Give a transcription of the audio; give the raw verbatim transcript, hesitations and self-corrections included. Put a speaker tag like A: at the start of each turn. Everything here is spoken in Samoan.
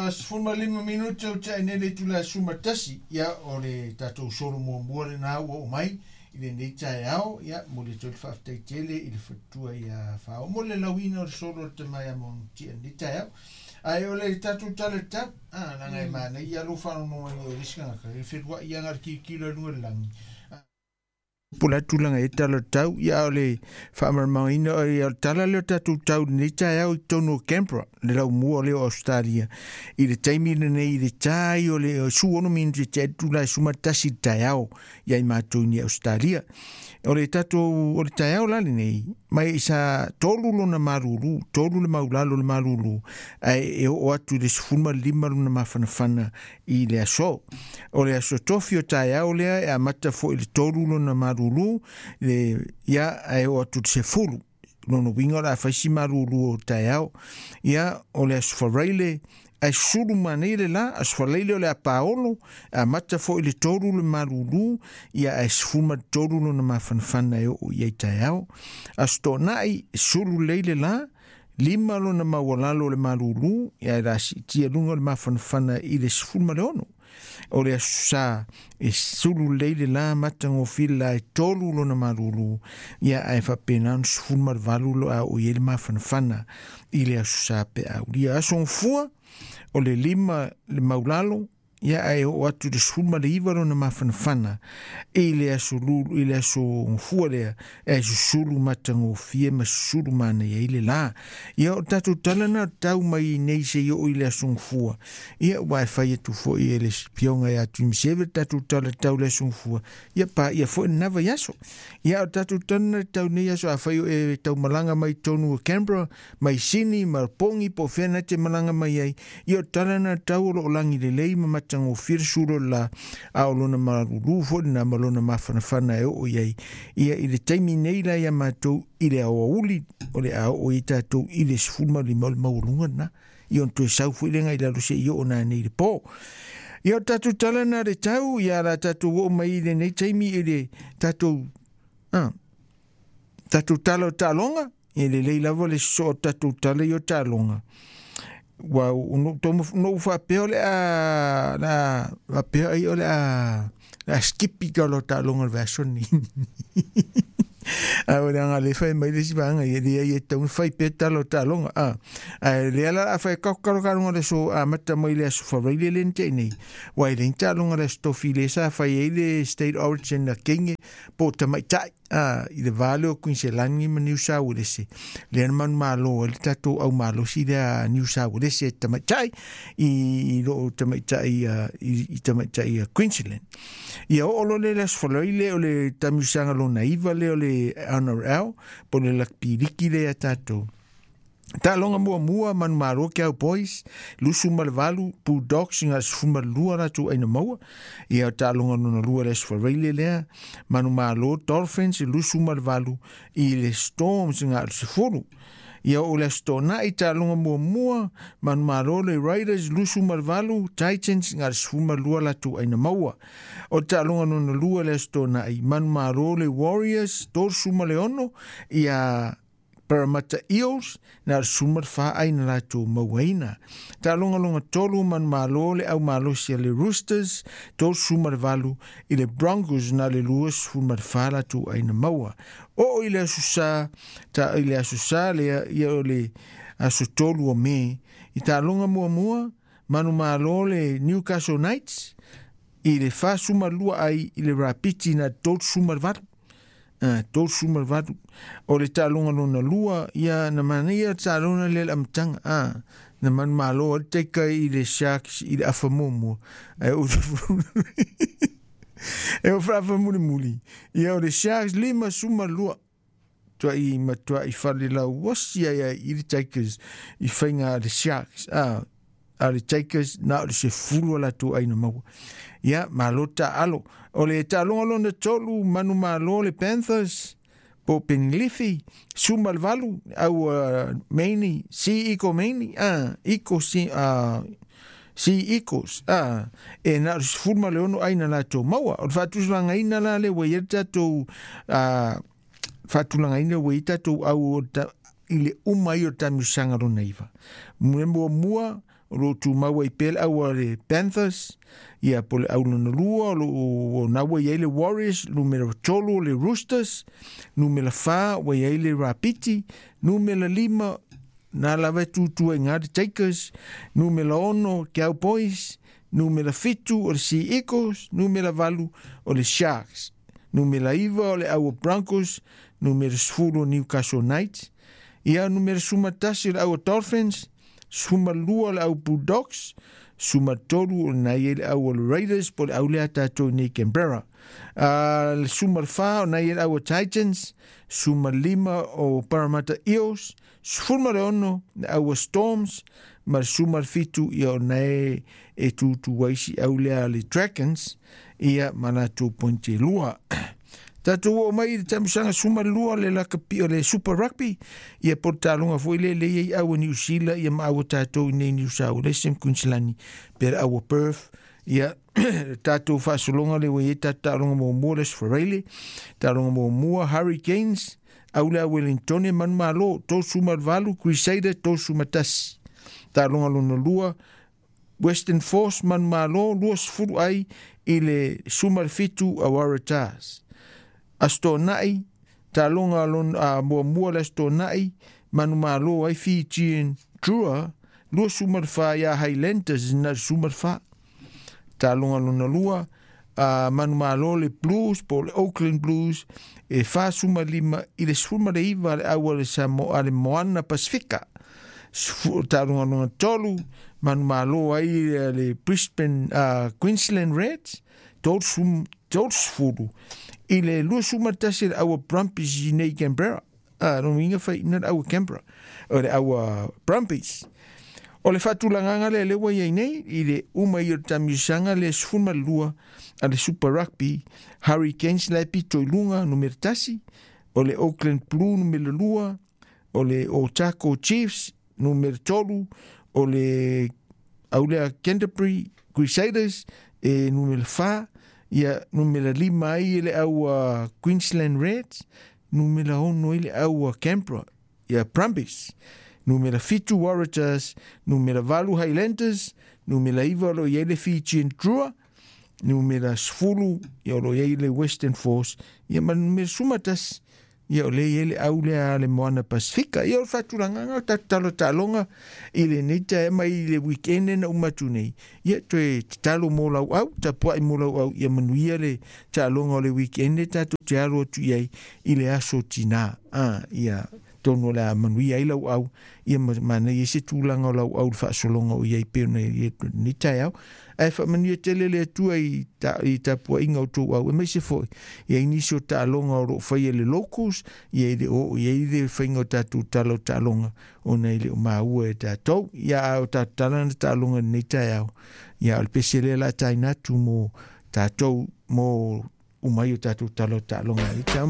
A: Ia, sefulu ma lima minute o tea nei le itula e sefulu ma tasi, ia, o le tatou solo muamua lenā ua oo mai i lenei taeao. Ia, momoli atu ai le faafetai tele i le faletua ia Fao mo le lauina o le solo o le tama ia Manutia i lenei taeao. Ae o le tatou tala tatau, a, leaga e manaia lou faalogologo mai o le isi tagata, e feluai lava le tilotilo i luga o le lagi. Po o le a tulaga e tala tau, ia o le faamalamalamaina o le tala lea o tatou tau i lenei taeao i totonu o Canberra, le laumua lea o Australia. I le taimi lenei i le tai o le sefulu minute te itula e sefulu ma tasi i le taeao ia i matou i Australia. O le tatou o le taeao la lenei, mai sa tolu lona malulu, tolu le maulalo le malulu, ae e oo atu i le sefulu ma lima lona mafanafana i le aso. O le aso tofi o taeao lea e amata foi i le tolu lona malulu, le, ia ae oo atu i le sefulu. Lona uiga o le a fai si malulu o taeao. Ia, o le aso Faraile, ae sulu manei le la, aso Faraile o le a paolo, amata foi i le tolu le malulu, ia ae sefulu ma le tolu lona mafanafana e oo i ai taeao. Aso Toonai, sulu lelei le la, lima lona maualalo o le malulu, ia e la siitia luga o le mafanafana i le sefulu ma le ono. O le aso Sa, e sulu lelei le la, matagofie le la e tolu lona malulu, ia ae faapena ona sefulu ma le valu lo a oo i ai le mafanafana i le aso Sa pe aulia. Aso Gafua, o le lima le maulalo, ia ae oo atu i le sefulu ma le iva lona mafanafana i le aso lulu, i le aso Gafua lea, e susulu matagofie ma susulu manaia ai le la. Ia o tatou tala na tau mai nei se i oo i le aso Gafua. Ia ua e fai atu foi e le afioga ia Tuimaseve le tatou tala tau le aso Gafua. Ia pa ia foi lena vaiaso. Ia o tatou tala na tau nei aso a fai o e tau malaga mai tonu o Canberra, mai Sydney, ma Pongi, po o fea na te malaga mai ai. Ia o tala na tau o loo lagi lelei ma matagofie le sulu o le la, a o lona malulu foi lena ma lona mafanafana e oo i ai. Ia i le taimi nei la ia matou i le aoauli, o le a oo i tatou i le sefulu ma lima o le maualuga lena. Ia ona toe sau foi lea i lalo seia oo nanei i le po. Ia o tatou tala na le tau, ia la tatou oo mai i lenei taimi i le tatou, ah, tatou tala o taaloga, e lelei lava le sosoo o tatou tala i o taaloga. Ua no faapea o le a la faapea ai o le a le a skipi ka lo taaloga o le vaiaso lenei. A o le aga le fai mai le isi vaega ia leai e tatau ona fai pea tala o taaloga a ae lea la a fai kakalo taaloga o le aso amata mai le aso Faraile lea na tea nei ua e leai ni taaloga o le aso Tofi lea sa fai ai le State Origin a Kenge po o tamaitai a i le va lea o Kuiniselani ma Niu Sauelese lea na manumalo ai le tatou au malosi lea a Niu Sauelese tamaitai i i loo tamaitai i, i tamaitai a Queensland. Ia oo loa lea i le aso Faraile o le taamilosaga lona iva lea o le N R L po o le Rugby Liki lea ia tatou. Taaloga muamua manumalo ke au boys, lusu ma le valu, Bulldogs i ngā sefulu ma le lua latou aina maua. Ia o taaloga lona lua le aso Faraile lea, manumalo Dolphins i lusu ma le valu i le Storms i ngā sefulu. Ia o le aso Toonai taaloga muamua, manumalo le Raiders lusu ma le valu, Titans i ngā sefulu ma le lua latou aina maua. O taaloga lona lua le aso Toonai, manumalo le Warriors, tolusefulu ma le ono, ia Parramatta Eels, na le sefulu ma le fa aina latou mauaina. Taaloga lona tolu manumalo le au malosi a le Roosters, tolusefulu ma le valu i le Broncos na le luasefulu ma le fa latou aina maua. Oo i le aso Sa, ta i le aso Sa lea, ia o le aso tolu o Me, i taaloga muamua, manumalo le Newcastle Knights, i le fasefulu ma le lua ai i le Rapiti na tolusefulu ma le valu. Ah, tolusefulu ma le valu. O le taaloga lona lua, ia na manaia le taaloga lea le amataga. Ah, na manumalo ai le taika i le Sharks i le afa muamua. Ae o e o faafa mulimuli. Ia o le Sharks lima suma lua. Tuai matuai fale lauosi ai ai i le Tigers i faiga a le Sharks. Ah, a le Tigers na o le sefulu o latou aina maua. Ia, malo taalo. O le taaloga lona tolu, manumalo le Panthers, po Penglifi, suma le valu, au uh, Maini, si iko Maini, ah, iko si, uh, si ikos, ah, e na o le sefulu ma le ono aina latou maua. O le faatulagaina la le ua i ai le tatou, ah, faatulagaina ua i ai tatou au o ta, i le uma ai o le taamilosaga lona iva. Mea muamua, o loo tumau ai pea le au a le Panthers. Ia po le au lona lua o loo na ua iai le Warriors, numera tolu o le Roosters, numera fa ua iai le Rapiti, numera lima na lava e tutu ai ngā le Takers, numera ono Cowboys, numera fitu o le Sea Eagles, numera valu o le Sharks, numera iva o le au Broncos, numera sefulu o Newcastle Knights, ia numera sumatasi o le au Dolphins, sumalua o le au Bulldogs, sumatolu o nai e le au o le Raiders po le au lea tatou nei Canberra. Uh, le sumalfa o nai e le au Titans, sumalima o Parramatta Eels, sefulu ma le ono le au Storms, ma le sumalfitu ia o nai e tutu ai si au lea le Dragons, ia ma latou pointe lua. Tatou oo mai i le tamusaga sumalua le lakapi o le Super Rugby, ia po le taloga foi le lei ai au New Zealand ia ma au tatou i nei New South Wales ma Queensland pe le au Perth. Ia tatou faasologa le ua iai tatou taaloga muamua le Aso Faraile, taaloga muamua Hurricanes au le Wellington e manumalo tosu ma le valu, Crusader tosu ma tasi. Taaloga lona lua Western Force manumalo lua sefulu ai i le suma le fitu a Waratahs. Aso Toonai, taaloga lona a muamua le Aso Toonai, manumalo ai Fijian Drua, lua suma le fa ia Highlanders na le suma le fa. Taaloga lona lua, a manumalo le Blues, po le Auckland Blues, e fa suma lima i le sefulu ma le iva le au a le Samoa le Moana Pasifika. Taaloga lona tolu, manumalo ai le Brisbane uh, Queensland Reds, tolu sum tolu sefulu i le lua suma tasi le aua Brumbies i nei Canberra. Ah, no inga fai ina le aua Canberra. O le aua Brumbies. O le faatulagaga lea lea ua iai nei i le uma ia o le tamiusaga le sefulu ma le lua a le Super Rugby, Hurricanes la e pito i luga numera tasi, o le Auckland Blue numera lua, o le Otago Chiefs numera tolu, o le aulea Canterbury Crusaders e numera fa, ia numera lima ai le aua Queensland Reds, numera ono i le aua Canberra, ia Brumbies, numera fitu Waratahs, numera valu Highlanders, numera iva o lo iai le Fijian Drua, numera sefulu ia o lo iai le Western Force, ia ma numera sumatasi ia o le iai le au lea le Moana Pasifika. Ia o le faatulagaga o tatou talo taaloga i lenei taea mai i le weekend na uma atu nei. Ia toe tatalo mo lauau, tapuai mo lauau ia manuia le taaloga o le weekend tatou te alo atu i ai i le aso tinā. Ah, ia tonu o le a manuia ai lauau, ia manaia se tulaga o lauau le faasologa o iai pei ona i lenei taeao. Ae faamanuia tele le Atua i ta, i tapuaiga o tou au, e maise foi ia i nisi o taaloga o loo faia le locals, ia i le oo i ai le faiga o tatou tala o taaloga ona i le o maua e tatou. Ia a o tatou tala na taaloga i lenei taeao, ia o le pese lea la taina atu mo tatou mo umai o tatou tala o taaloga i lenei taeao.